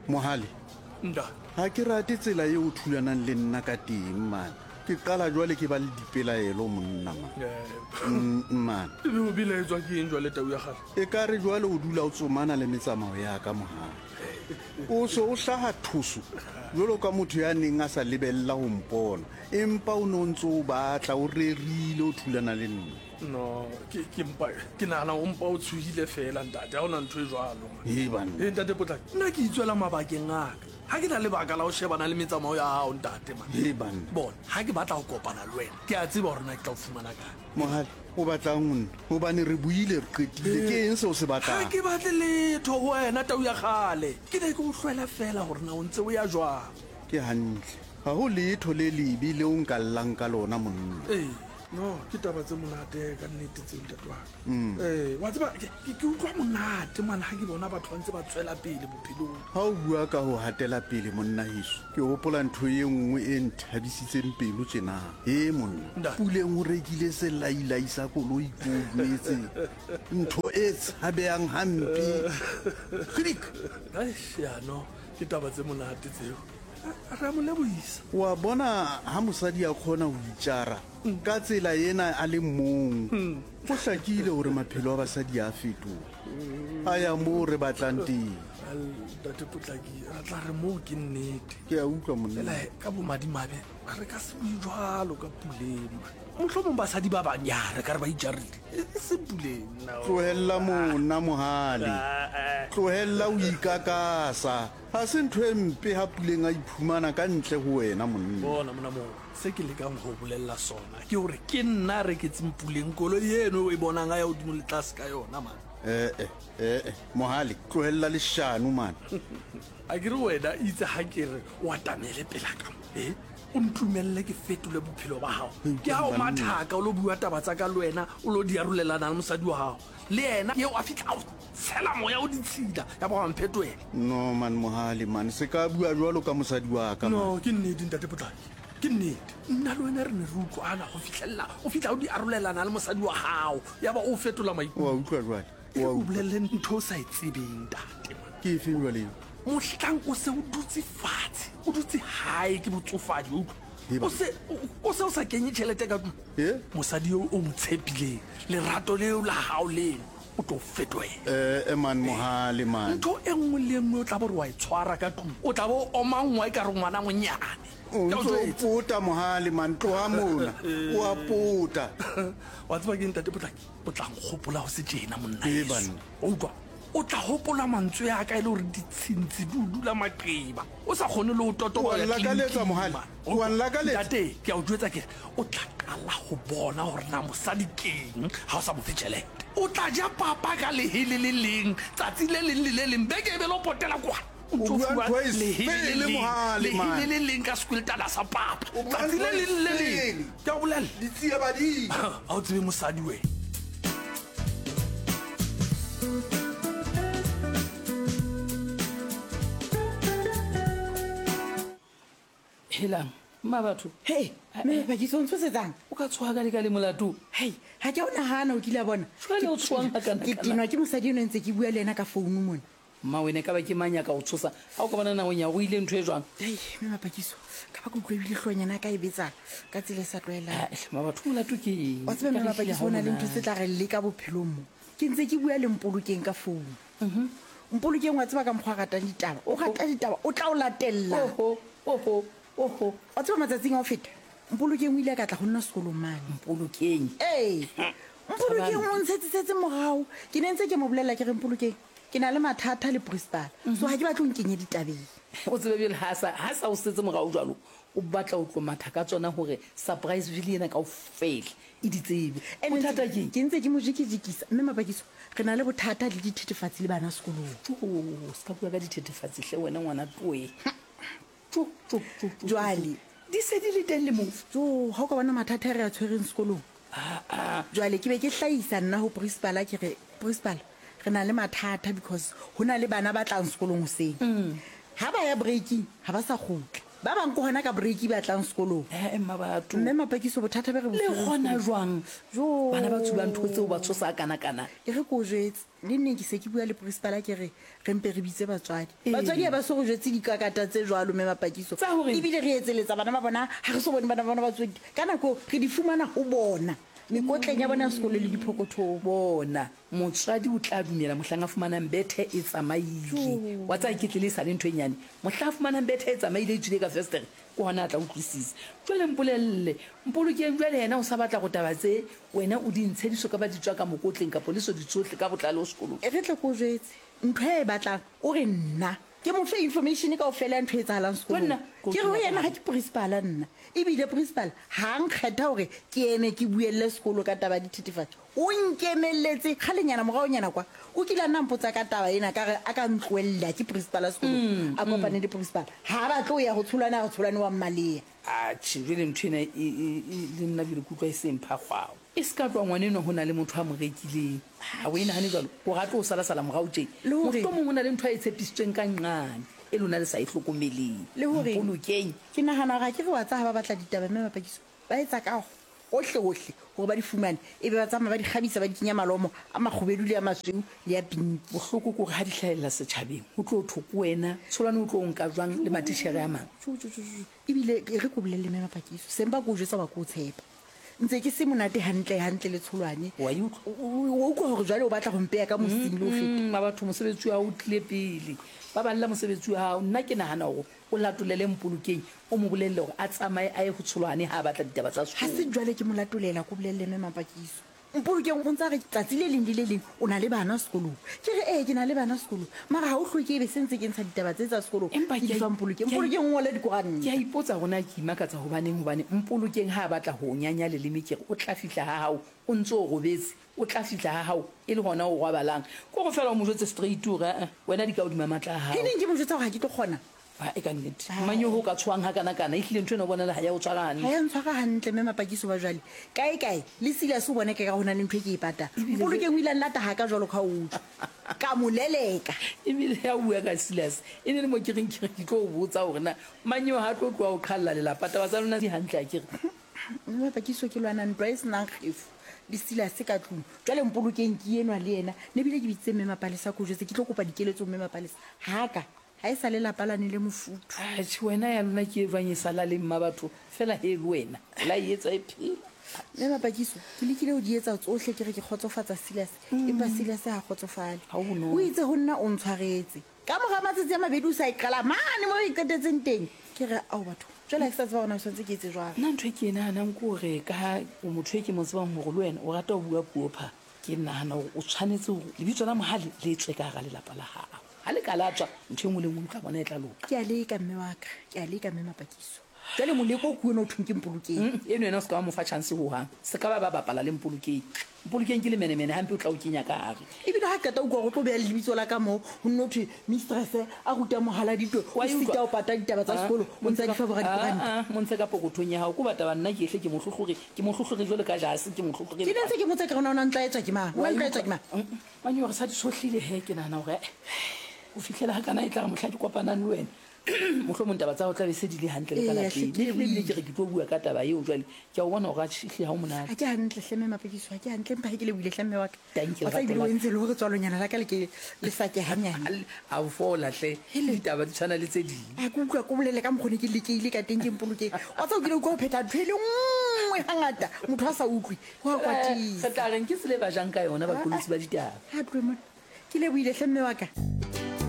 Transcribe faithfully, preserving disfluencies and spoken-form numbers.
Mohale Nda. Ha ke rate tsela eo o thulanang le nna ka teng mane. Ke qala jwale ke ba le dipelaelo monna man. Mm, man. Ebe o belaetswa ke eng jwale tau ya kgale? E ka re jwale o dula o tsomana le metsamao ya ka Mohale. O se o hlaha thuso jwalo ka motho ya neng a sa lebella ho mpona, empa o ne o ntse o batla o rerile o thulana le nna. No, ke ke mpa ke nahana o mpa o tshohile fela ntate, ha ona ntho e jwalo. Ee banna. Ee ntate Potlaki, nna ke itswela mabakeng a ka. Ha ke na lebaka la ho shebana le metsamao ya hao ntate man. Ee banna. Bona, ha ke batla ho kopana le wena, ke a tseba hore na ke tla o fumana kae. Mohale, o batlang ho nna? Hobane re buile re qetile, ke eng seo se Ha batlang? ke batle letho ho wena tau ya kgale. Ke ne ke o hlwela fela hore na o ntse o ya jwang. Ke hantle. Ha ho letho le lebe leo nka llang ka lona monna. Ee, no, ke taba tse monate ka nnete tseo ntate wa ka. Ee, wa tseba ke ke ke utlwa monate man ha ke bona batho ba ntse ba tswela pele bophelong. Ha o bua ka ho hatela pele monna heso, ke hopola ntho e nngwe e nthabisitseng pelo tjena. He monna, Ntate. Puleng o rekile selailai sa koloi ko o jwetse. Ntho e tshabehang hampe. Kgidik! Eish, ya no, ke taba tse monate tseo. Re a mo lebohisa. Wa bona ha mosadi a kgona ho itjara ka tsela ena a le mong, ho hlakile hore maphelo a basadi a fetoha. A ya moo re batlang teng. Well, ntate Potlaki, re tla re moo ke nnete. Ke a utlwa monna. Fela ka bomadimabe re ka se bue jwalo ka Puleng. Mohlomong basadi ba bang ya re ka re ba itjarile. E e seng Puleng. No. Tlohella monna Mohale. Tlohella o ikakasa. Ha se ntho e mpe ha Puleng a iphumana ka ntle ho wena monna. Bona mona moo, se ke lekang ho bolella sona ke hore ke nna a reketseng Puleng koloi eno o e bonang a ya hodimo le tlase ka yona man. Eh eh eh Mohale, tlohella leshano man. A ke re wena itse ha ke re o atamele pela ka mo, eh? O ntumelle ke fetole bophelo ba hao. Ke ha o mathaka o lo bua taba tsa ka le wena, o lo di arolelana le mosadi wa hao. Le yena eo a fihla a o tshela moya o ditshila, ya ba wa mphetohela. No man Mohale man, se ka bua jwalo ka mosadi wa ka man. No, ke nnete ntate Potlaki. Ke nnete. Nna le wena re ne re utlwana ho fihlella o fihla o di arolelana le mosadi wa hao, ya ba o fetola maikutlo. Wa utlwa jwale? E Wa o utlwa. bolelle ntho o sa e tsebeng ntate man. Ke efeng jwale eo? Mohlang o se o dutse fatshe, o dutse hae ke botsofadi, o utlwa? Hee O se o o se o sa kenye tjhelete ka tlung. Eh? Mosadi eo o mo tshepileng, lerato leo la hao leno, o tlo fetohela. Eh eh man Mohale man. Ntho e nngwe le e nngwe o tla bo re wa e tshwara ka tlung, o tla bo o omangwa ekare ngwana monyane. O Ke a o ntso o jwetsa. pota Mohale man, tloha mona. O a pota. Wa tseba ke ntate Potlaki, o tla nkgopola ho se tjena monna Ee, heso. banna. O utlwa? O tla hopola mantswe a ka e le hore ditshintshi di o dula maqeba. O sa kgone le ho totoba Wa ho ya nlakaletsa, tleliniking, Mohale. man. Wa nlakaletsa. Ntate, ke a o jwetsa ke re, o tla qala ho bona hore na mosadi keng ha o sa mo fe tjhelete. O tla ja papa ka lehe le le leng, tsatsi le leng le le leng, beke e be le o potela kwana. O O ntso bua fuwa ntho e lehe le sele, leng, Mohale, lehe man. le le leng ka sekwiltana sa papa. O bua Tsatsi le ntho e leng le leng. sele. Ke a o bolella. Ditsie badimo. Ha o tsebe mosadi wena. Helang, mma batho. Hei, mme Pakiso o ntshosetsang? O ka tshoha ka leka le molato. Hei, ha ke a o nahana o kile a bona. Jwale o tshohang hakana Ke kana? tenwa ke mosadi eno ntse ke bua le yena ka founu mona. Mma wena ka ba ke mang ya ka o tshosa? Ha o ka bona nakong ya o ile ntho e jwang? Hei, mme Mapakiso, ka ba ke utlwa ebile hloohonyana ya ka e betsa ka tsela e sa tlwaelang. Ah, hle, mma batho molato ke eng? Wa tseba mme Ka re Mapakiso hlile ha ho na le o ntho tse monate. tla re leka bophelong mo. Ke ntse ke bua le Mpolokeng ka founu. Mpolokeng wa tseba ka mokgwa a ratang ditaba. O rata ditaba, o tla o latella. Oho, oho, oho. Wa tseba matsatsing a ho feta, Mpolokeng o ile a ka tla ho nna sekolong mane. Mpolokeng? Ee. Mpolokeng o ntshetsisetse morao. Ke ne ntse ke mo bolella ke re Mpolokeng, ke na le mathata le principal. So ha ke batle ho nkenye ditabeng. O tsebe pele ha sa, ha sa o setse morao jwalo, o batla ho tlo matha ka tsona hore surprise ville ena kaofela e di tsebe. Ene Bothata ntse ke eng? Ke ntse ke mo jikijikisa, mme Mapakiso, re na le bothata le dithethefatsi le bana sekolong. Tjo, se ka bua ka dithethefatsi hle wena ngwana toe. Tjo, tjo, tjo, tjo, Jwale. di se di le teng le moo. Jo, ha o ka bona mathata a re a tshwereng sekolong. Ah, ah. Jwale ke be ke hlahisa nna ho principal, ke re principal, re na le mathata because ho na le bana ba tlang sekolong hoseng. Mm. Ha ba ya breaking, ha ba sa kgutla. Ba bang ke hona ka break ba tlang sekolong. Eh mma batho. Mme Mapakiso bothata be re bo Le gona jwang? Jo. Bana ba tsubang ntho tseo ba tshosa kana-kana. E re ko o jwetse le nneng ke se ke bua le principal ke re re mpe re bitse batswadi. Ee. Batswadi ha ba so go jwetse dikakata tse jwalo mme Mapakiso. Tsa hore? Ebile re etseletsa bana ba bona ha re so bone bana ba bona ba tswe ka nako re di fumana ho bona mekotleng ya bona ya sekolo le diphokothong. Bona motswadi o tla dumela mohlang a fumanang bethe e tsamaile. Wa tsaya ke tlile e sale ntho e nyane. Mohlang a fumanang bethe e tsamaile e tswile ka festere ke hona a tla utlwisisa. Jwale mpolelle, Mpolokeng jwale yena o sa batla go taba tse wena o di ntshe di so ka ba di tswa ka mokotleng kapo le so di tsohle ka botlalo sekolong. E re tle ko jwetse ntho e batlang o re nna ke mo fe information kaofela ya ntho e etsahalang sekolong. Nna, Ke re ho yena ha ke principal nna. Ebile principal ha nkgetha hore ke eme ke buelle sekolo ka taba ya dithethefatsi. O nkemelletse kgalenyana moraonyana kwa. O kile a nna mpotsa ka taba ena ka re a ka ntlohella ke principal ya sekolo. A kopane le principal. Ha ba tlo ya ho tsholwana ho tsholwane wa mmalea. Atjhe jwale ntho ena e, e, e, le nna jwale ke utlwa e seng phakgwao. E se ka tloha ngwana enwa ho na le motho a mo rekileng. Ha o e nahane jwalo, hore a tlo o sala-sala morao tje. Le hore- Mohlomong ho na le ntho a e tshepisitsweng ka nqane e lona le sa e hlokomeleng. Le hore- Mpolokeng. Ke nahana hore ha ke re wa tsa ha ba batla ditaba mme Mapakiso ba etsa ka hohle hohle hore ba di fumane ebe ba tsamaya ba di kgabisa ba di kenya malomo a makgubedu le a masweu le a pinki. Bohloko ke hore ha di hlahella setjhabeng ho tlo thwe ke wena Tsholwane o tlo o nka jwang le matitjhere a mang. Jo, jo, jo, jo. Ebile e re ko bolelle mme Mapakiso sempa ko o jwetsa wa ko o tshepa. Ntse ke se monate hantle hantle le Tsholwane. Wa e utlwa? O o utlwa hore jwale o batla ho mpeya ka mosing le ho feta. Mm, batho mosebetsi wa hao o tlile pele. Ba balla mosebetsi wa hao. Nna ke nahana hore o latolele Mpolokeng, o mo bolelle hore a tsamaye a ye ho Tsholwane ha a batla ditaba tsa Ha sekolo. se jwale ke mo latolela ko bolelle mme Mapakiso. Mpolokeng o ntsa re tsatsi le leng le le leng o na le bana sekolong. Ke re ee ke na le bana sekolong. Mara ha o hloke ebe se ntse ke ntsha ditaba tse tsa sekolong. Empa Ke ke di a- fa Mpolokeng. ke a- Mpolokeng o ngole dikoranta. Ke a ipotsa hore na ke imakatsa hobaneng hobane Mpolokeng ha a batla ho o nyanya leleme ke re o tla fihla ha hao o ntso o robetse, o tla fihla ha hao e le hona o robalang. Ke hore feela o mo jwetse straight hore eh, wena di ka hodima matla a hao. Ke neng ke mo jwetsa hore ha ke tlo kgona? Ha, e ka nnete. Mang eo ho ka tshohang hakana-kana, ehlile ntho ena o bonela ha ya o tshwara hantle. Ha ya ntshwara hantle mme Mapakiso ba jwale. Kae kae le Silas o bone ke ka ho na le ntho e ke e patang. Mpolokeng o ile a nlata ha ka jwalo ka o utlwa. Ka mo leleka. Ebile ha o bua ka Silas, e ne le mo ke reng ke re ke tlo o botsa hore na mang eo ha tlo tloha o qhalla lelapa, taba tsa lona di hantle akere? Mme Mapakiso ke lwana ntwa e senang kgefu le Silas ka tlung. Jwale Mpolokeng ke enwa le yena. Ne bile ke bitsitse mme Mapalesa ko jwetse ke tlo kopa dikeletso mme Mapalesa. Ha ka ha e sa le lapa lane le mofuthu. Atjhe, wena ya lona ke e jwang e sa laleng mma batho fela he le wena la e etsa e phela. Mme Mapakiso ke lekile ho di etsa tsohle ke re ke kgotsofatsa Silas, empa Silas ha kgotsofale. Ha ho bonolo. O itse ho nna o ntshwaretse. Ka mora matsatsi a mabedi o sa e qala mane mo e qetetseng teng. Ke re ao batho, jwale ha ke sa tseba hore na o tshwanetse ke etse jwang. Nna ntho e ke e nahanang ke hore ka ha o motho e ke mo tsebang hore le wena o rata ho bua puo pha, ke nahana hore o tshwanetse hore lebitso la Mohale le tswe ka hara lelapa la hao. Ha le ka la tswa, ntho e nngwe le nngwe o tla bona e tla loka. Ke a leka mme wa ka, ke a leka mme Mapakiso. Jwale moleko ke ona o thweng ke Mpolokeng. Mm, eno yena o se ka wa mo fa chance hohang. Se ka ba ba bapala le Mpolokeng. Mpolokeng ke lemenemene hampe o tla o kenya ka hare. Ebile ha qeta o utlwa hore o tlo beha lebitso la ka moo, ho nno thwe mistress a ruta mohaladitwe, o Wa e utlwa? sita ho pata ditaba tsa Ah, sekolo, o ntsa di fa bora dikoranta. Ah, ah, mo ntshe ka pokothong ya hao. Ke batla nna ke ehle ke mo hlohlore, ke mo hlohlore jwalo ka jase, ke mo hlohlore. Ke ne ntse ke motsa ke re ona o na ntla etswa ke mang? O na ntla etswa ke mang? Mm, mm. Mane hore sa di sohlile he, ke nahana hore, eh, ho fihlela ha kana e tla re mohla ke kopanang le wena. Mohlomong taba tsa hao tla be se di le hantle le ka Eya, lapeng. hle, ke Mme ebile ke re ke tlo bua ka taba eo jwale. Ke a o bona hore atjhe, ehlile ha o monate. Ha ke hantle hle mme Mapakiso, ha ke hantle empa ha ke lebohile hle mme wa ka. Thank you, Wa tseba ebile lerato o la ka. entse le hore tswalonyana la ka le ke le sa ke hanyane. A o fola hle. Ditaba di tshwana le tse ding. Ha ke utlwa ko bolele ka mokgwa o ne ke lekehile ka teng ke Mpolokeng. Wa tseba o kile wa utlwa ho phetha ntho e le nngwe hangata, motho a sa utlwe, ho a Eh, kwatisa. re tla reng ke tsela e ba jang ka yona baqolotsi ba ditaba. Ha tlohe mona. Ke lebohile hle mme wa ka.